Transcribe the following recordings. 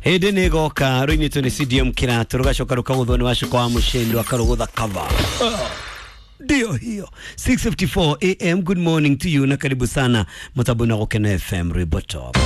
Hĩndĩ nĩ ĩgoka rũinĩtwo nĩ CDM kĩratũ rũgacoka rũkagũthwo nĩ Wacuka wa Mũcĩndo akarũgũtha cover. Ndio hiyo 6:54 am. Good morning to you na karibu sana mũtambo-inĩ wa Gũkena FM Rwĩmbo Top.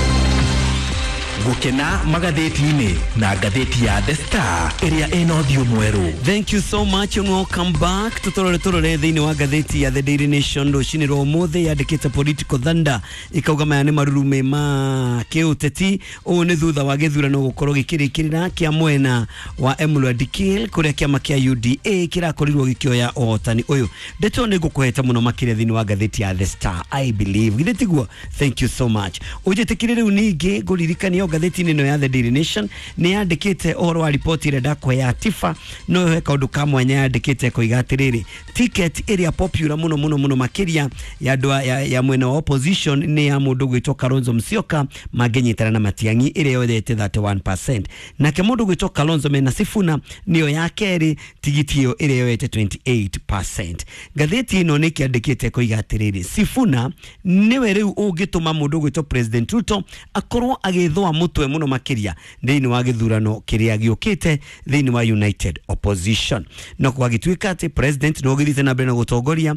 Gũkena magathĩti-inĩ na ngathĩti ya The Star ĩrĩa ĩna ũthiũ mwerũ. Thank you so much and welcome back. Tutorore turore thĩinĩ wa ngathĩti ya The Daily Nation rũcinĩ rwa ũmũthĩ yandĩkĩte political thunder, ikauga maya nĩ marurume ma kĩũteti. Ũũ nĩ thutha wa gĩthurano gũkorwo gĩkĩrĩkĩrĩra kĩa mwena wa Emurua Dikirr kũrĩa kĩama kĩa UDA kĩrakorirwo gĩkĩoya ũhotani ũyũ. Ndeto nĩ ngũkũhete mũno makĩria thĩinĩ wa ngathĩti ya The Star, I believe. Githĩ tiguo? Thank you so much. Ũnjĩtĩkĩre rĩu ningĩ ngũririkania ngathĩti-inĩ ĩno ya The Daily Nation nĩ yandĩkĩte ũhoro wa riboti ĩrĩa ndakũhe ya Tifa, no he kaũndũ ka mwanya yandĩkĩte koiga atĩrĩrĩ, ticket ĩrĩa popular mũno mũno mũno makĩria ya andũ ya mwena wa opposition nĩ ya mũndũ gwĩtwo Kalonzo Musyoka mangĩnyitana na Matiang'i ĩrĩa yoete 31%, nake mũndũ gwĩtwo Kalonzo mena Sifuna nĩyo ya kerĩ, tigiti ĩyo ĩrĩa yoete 28%. Ngathĩti ĩno nĩ kĩandĩkĩte koiga atĩrĩrĩ, Sifuna nĩwe rĩu ũngĩtũma mũndũ gwĩtwo President Ruto akorwo agĩthũa mũtwe mũno makĩria thĩinĩ wa gĩthurano kĩrĩa gĩũkĩte thĩinĩ wa United Opposition. No gwagĩtuĩka atĩ president no ũgĩthiĩte na mbere na gũtongoria,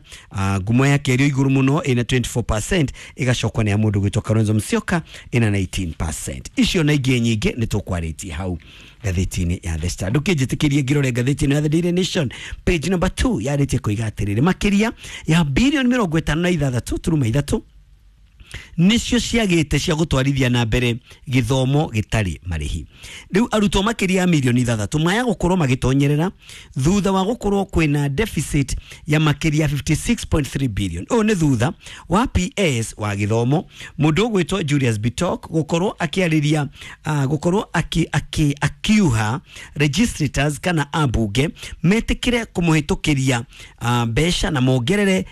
ngumo yake ĩrĩ igũrũ mũno ĩna 24%, ĩgacokwo nĩ ya mũndũ gwĩtwo Kalonzo Musyoka ĩna 19%. Icio na ingĩ nyingĩ nĩ tũkwarĩtie hau ngathĩti-inĩ ya The Star. Ndũkĩnjĩtĩkĩrie ngĩrore ngathĩti-inĩ ya The Daily Nation page number 2 yarĩtie koiga atĩrĩrĩ, makĩria ya bilioni 56.3 nĩcio ciagĩte cia gũtwarithia na mbere gĩthomo gĩtarĩ marĩhi. Rĩu arutwo makĩria ya milioni 6 maya gũkorwo magĩtonyerera thutha wa gũkorwo kwĩna deficit ya makĩria 56.3 billion. Ũyũ nĩ thutha wa PS wa gĩthomo mũndũ ũgwĩtwo Julius Bitok gũkorwo akĩarĩria, gũkorwo akiuha registrators kana ambunge metĩkĩre kũmũhĩtũkĩria mbeca na mongerere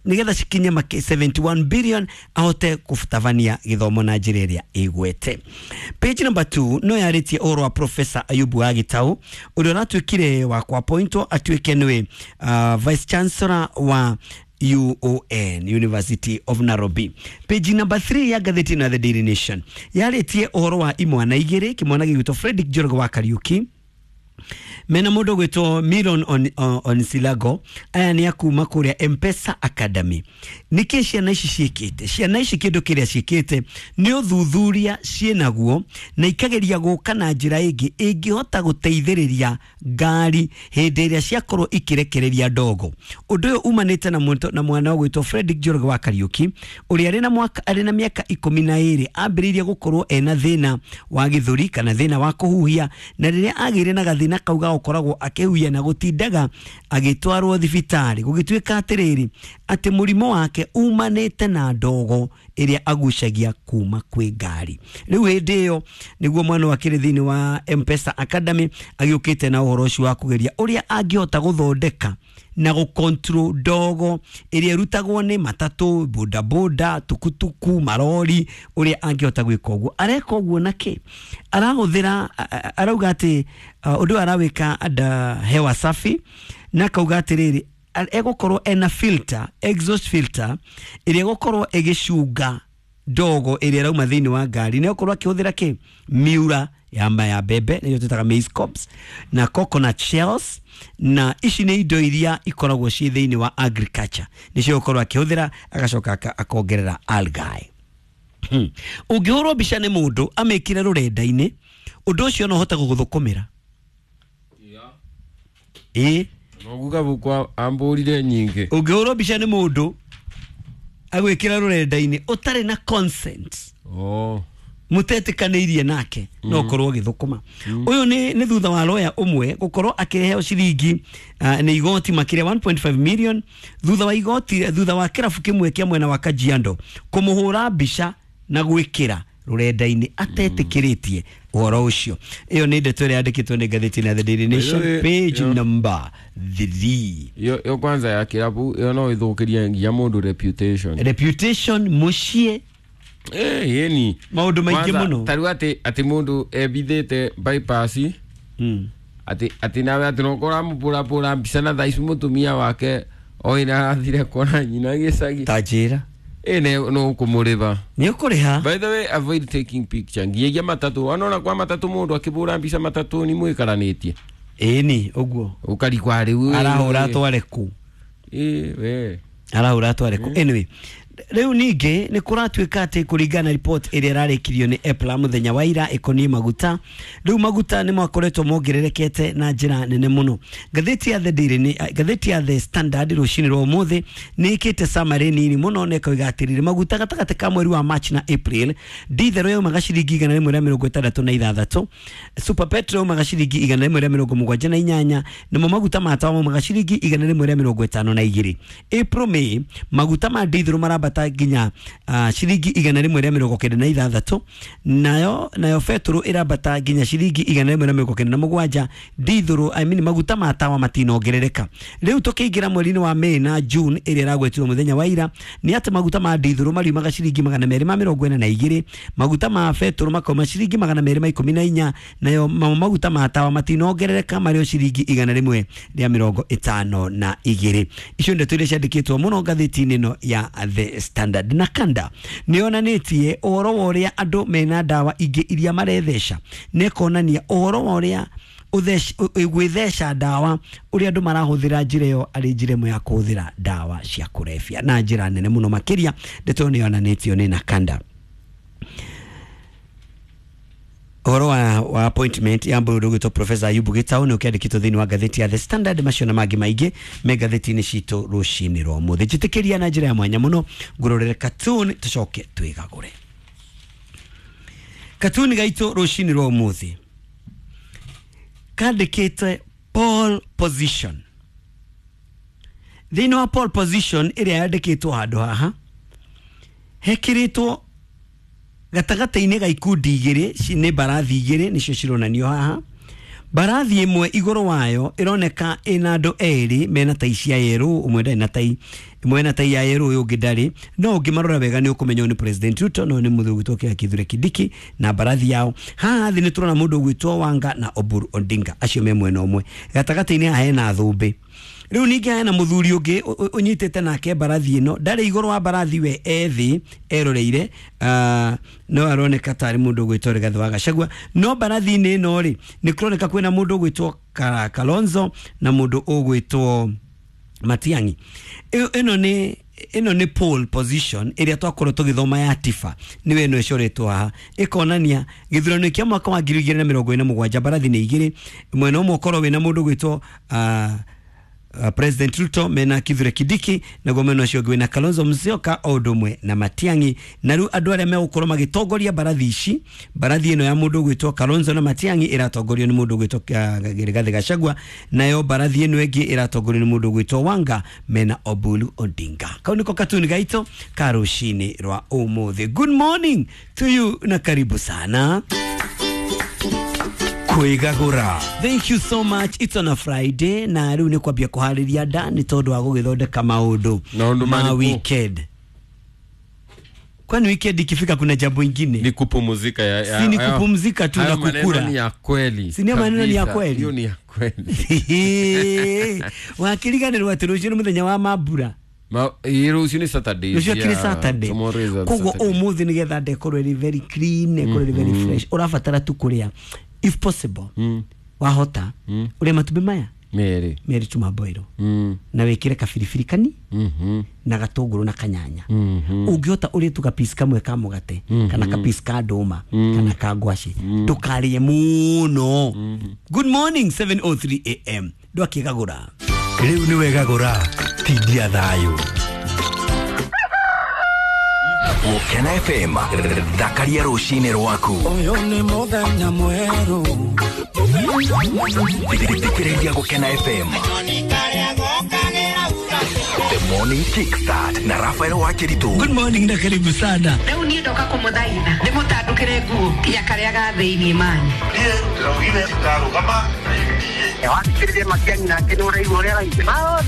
nĩgetha cikinye 71 billion ahote kũtabania gĩthomo na njĩra ĩrĩa ĩgwete. Page number 2 no yarĩtie ũhoro wa Professor Ayubu wa Gitau ũrĩa ũratuĩkire wa kũappointwo atuĩke nĩwe Vice Chancellor wa UON, University of Nairobi. Page number 3 ya ngathĩti ya The Daily Nation yarĩtie ũhoro wa imwana igĩrĩ, kĩmwana gĩgwĩtwo Fredrick Njoroge wa Kariuki mena mũndũ gwĩtwo Miron Onsilago. Aya nĩ akuma kũrĩa M-Pesa Academy. Nĩkĩ ciana ici ciĩkĩte? Ciana ici kĩndũ kĩrĩa ciĩkĩte nĩ ũthuthuria ciĩnaguo na ikageria gũka na njĩra ĩngĩ ĩngĩhota gũteithĩrĩria ngari hĩndĩ ĩrĩa ciakorwo ikĩrekereria ndogo. Ũndũ ũyũ umanĩte na mwana ũgwĩtwo Fredrick Njoroge wa Kariuki ũrĩa arĩ na mĩaka 12 ambĩrĩirie gũkorwo ena thĩna wa gĩthũri kana thĩna wa kũhuhia, na rĩrĩa agĩire na gathĩna kau ga gũkoragwo akĩhuhia na gũtindaga agĩtwarwo thibitarĩ, gũgĩtuĩka atĩrĩrĩ atĩ mũrimũ wake umanĩte na ndogo ĩrĩa agucagia kuma kwĩ ngari. Rĩu hĩndĩ ĩyo nĩguo mwana wakĩrĩ thĩinĩ wa M-Pesa Academy agĩũkĩte na ũhoro ũcio wa kũgeria ũrĩa angĩhota gũthondeka na gũcontrol ndogo ĩrĩa ĩrutagwo nĩ matatũ, bodaboda, tukutuku, marori, ũrĩa angĩhota gwĩka ũguo. Areka ũguo na kĩ? Arahũthĩra, arauga atĩ ũndũ ũyũ arawĩka under hewa safi, na akauga atĩrĩrĩ egũkorwo ena filter, exhaust filter ĩrĩa ĩgũkorwo ĩgĩcunga ndogo ĩrĩa ĩrauma thĩinĩ wa ngari, na ĩgũkorwo akĩhũthĩra kĩ? Miura ya mbembe nĩyo twĩtaga maize cobs na coconut shells, na ici nĩ indo iria ikoragwo ciĩ thĩinĩ wa agriculture, nĩcio gũkorwo akĩhũthĩra, agacoka akongerera algae. Ũngĩhũrwo mbica nĩ mũndũ amĩkĩre rũrenda-inĩ, ũndũ ũcio no ũhote gũgũthũkũmĩra. Ĩĩ Noguka bukwa ambũrire nyingĩ. Ũngĩhũrwo mbica nĩ mũndũ agwĩkĩra rũrenda-inĩ ũtarĩ na consent, mũtetĩkanĩirie nake, no ũkorwo ũgĩthũkũma. Ũyũ nĩ thutha wa lawyer ũmwe gũkorwo akĩheo ciringi nĩ igoti makĩria 1.5 million thutha wa igoti, thutha wa kĩrabu kĩmwe kĩa mwena wa Kajiado kũmũhũra mbica na gwĩkĩra rũrenda-inĩ atetĩkĩrĩtie ũhoro ũcio. Ĩyo nĩ ndeto ĩrĩa yandĩkĩtwo nĩ ngathĩti ya The Daily Nation page number 3. Yo kwanza ya kĩrabu ĩyo no ĩthũkĩrie nginya mũndũ reputation. Reputation mũciĩ. Yeni maũndũ maingĩ mũno. Ta rĩu atĩ mũndũ ebithĩte bypass, atĩ nawe atĩ no ũkora mũbũrabũra mbica na thaa ici mũtumia wake o ĩrĩa arathire kuona nyina gĩcagi. Ta njĩra. Ene no kumuriva. Nĩ ũkũrĩha. By the way, avoid taking picture. Nginya matatu, wanona kwa matatu mundu akibura mbica matatu ni mwikaranĩtie. Ĩni ũguo. Ukarikwa rĩu. Arahũra atware kũ? Ĩ we. Arahũra atware kũ? Anyway, rĩu ningĩ nĩ kũratuĩka atĩ kũringana na report ĩrĩa ĩrarĩkirio nĩ EPLA mũthenya wa ira ĩkoniĩ maguta, rĩu maguta nĩ makoretwo mongererekete na njĩra nene mũno. Ngathĩti ya The Daily nĩ ngathĩti ya The Standard rũcinĩ rwa ũmũthĩ nĩ ĩkĩte summary nini mũno na ĩkoiga atĩrĩrĩ, maguta gatagatĩ ka mweri wa March na April, diesel yaumaga ciringi 166, super petrol yaumaga ciringi 178, namo maguta ma tawa maumaga ciringi 152. April May maguta ma diesel marambata nginya ciringi 196, nayo betũrũ ĩrambata nginya ciringi 197. Diesel, I mean maguta ma tawa matinongerereka. Rĩu tũkĩingĩra mweri-inĩ wa May na June ĩrĩa ĩragwetirwo mũthenya wa ira nĩ atĩ maguta ma diesel mariumaga ciringi 242, maguta ma betũrũ makauma ciringi 214, nayo maguta ma tawa matinongerereka marĩ o ciringi 152. Icio ndeto iria ciandĩkĩtwo mũno ngathĩti-inĩ ĩno ya The Standard. Na kanda nĩ yonanĩtie ũhoro wa ũrĩa andũ mena ndawa ingĩ iria maretheca, na ĩkonania ũhoro wa ũrĩa gwĩtheca ndawa ũrĩa andũ marahũthĩra njĩra ĩyo arĩ njĩra ĩmwe ya kũhũthĩra ndawa cia kũrebia na njĩra nene mũno makĩria. Ndeto ĩyo nĩ yonanĩtio nĩ Nakanda. Ũhoro wa appointment ya mũndũ ũgwĩtwo Professor Ayubu Gitau nĩ ũkĩandĩkĩtwo thĩinĩ wa ngathĩti ya The Standard. Macio na mangĩ maingĩ me ngathĩti-inĩ citũ rũcinĩ rwa ũmũthĩ. Njĩtĩkĩria na njĩra ya mwanya mũno ngũrorere cartoon tũcoke twĩgagũre. Cartoon gaitũ rũcinĩ rwa ũmũthĩ kandĩkĩte pole position. Thĩinĩ wa pole position ĩrĩa yandĩkĩtwo handũ haha hekĩrĩtwo gatagatĩ-inĩ ga ikundi igĩrĩ, nĩ mbarathi igĩrĩ nĩcio cironanio haha. Mbarathi ĩmwe igũrũ wayo ĩroneka ĩna andũ erĩ mena tai cia yerũ, ũmwe ndarĩ na tai, ĩmwe ena tai ya yerũ ũyũ ũngĩ ndarĩ, no ũngĩmarora wega nĩ ũkũmenya ũyũ nĩ President Ruto na ũyũ nĩ mũthuri ũgwĩtwo Kithure Kindiki na mbarathi yao. Haha thĩ nĩ tũrona mũndũ ũgwĩtwo Wanga na Oburu Odinga, acio me mwena ũmwe. Gatagatĩ-inĩ haha hena thũmbĩ. Rĩu ningĩ hena mũthuri ũngĩ ũnyitĩte nake mbarathi ĩno, ndarĩ igũrũ wa mbarathi we e thĩ eroreire, no aroneka tarĩ mũndũ ũgwĩtwo Rigathĩ wa Gachagua. No mbarathi-inĩ ĩno rĩ nĩ kũroneka kwĩna mũndũ ũgwĩtwo Kalonzo na mũndũ ũgwĩtwo Matiang'i. Ĩno nĩ pole position ĩrĩa twakorwo tũgĩthoma ya Tifa, nĩwe ĩno ĩcoretwo haha, ĩkonania gĩthurano kĩa mwaka wa 2027 mbarathi nĩ igĩrĩ, mwena ũmwe ũkorwo wĩna mũndũ ũgwĩtwo President Ruto mena Kithure Kindiki, naguo mwena ũcio ũngĩ wĩna Kalonzo Musyoka o ũndũ ũmwe na Matiang'i. Na rĩu andũ arĩa megũkorwo magĩtongoria mbarathi ici, mbarathi ĩno ya mũndũ ũgwĩtwo Kalonzo na Matiang'i ĩratongorio nĩ mũndũ ũgwĩtwo Rigathĩ Gachagua, nayo mbarathi ĩno ĩngĩ ĩratongorio nĩ mũndũ ũgwĩtwo Wanga mena Oburu Odinga. Kau nĩko katuni gaitũ ka rũcinĩ rwa ũmũthĩ. Good morning to you na karibu sana. Kwĩgagũra. Thank you so much. It's on a Friday na rĩu nĩ kwambia kũharĩria nda nĩ tondũ wa gũgĩthondeka maũndũ ma weekend. Kwani weekend ikifika kuna jambo ingine? Ni kupumzika ya si ni kupumzika tu na kukula. Ni ya kweli. Si ni maneno ni ya kweli. Hiyo ni ya kweli. Wakiriganĩrwo atĩ rũciũ nĩ mũthenya wa mambura. Ma rũciũ nĩ Saturday. Rũciũ kĩrĩ Saturday. Koguo ũmũthĩ nĩgetha nda ĩkorwo ĩrĩ very clean, ĩkorwo ĩrĩ very fresh, ũrabatara tu kũrĩa if possible, wahota ũrĩe matumbĩ maya merĩ tu maboiro, na wĩkĩre kabiribiri kani na gatũngũrũ na kanyanya. Ũngĩhota ũrĩe tu gapiece kamwe ka mũgate kana kapiece ka ndũma kana ka ngwacĩ, ndũkarĩe mũno. Good morning 7:03 am. Ndwakĩgagũra rĩu nĩ wegagũra tindia thayũ. Gũkena FM, thakaria rũcinĩ rwaku. Ũyũ nĩ mũthenya mwerũ. Thikĩrĩria Gũkena FM. The Morning Kickstart na Rafael Wakiritu. Good morning na karibu sana. Rĩu niĩ ndoka kũmũthaitha ndĩmũtandũkĩre nguo nginya karĩa ga thĩinĩ mani. Niĩ ndĩraugire ndarũgama na UDA. Wathikĩrĩria Matiang'i nake nĩ ũraigua ũrĩa araigua. Maũndũ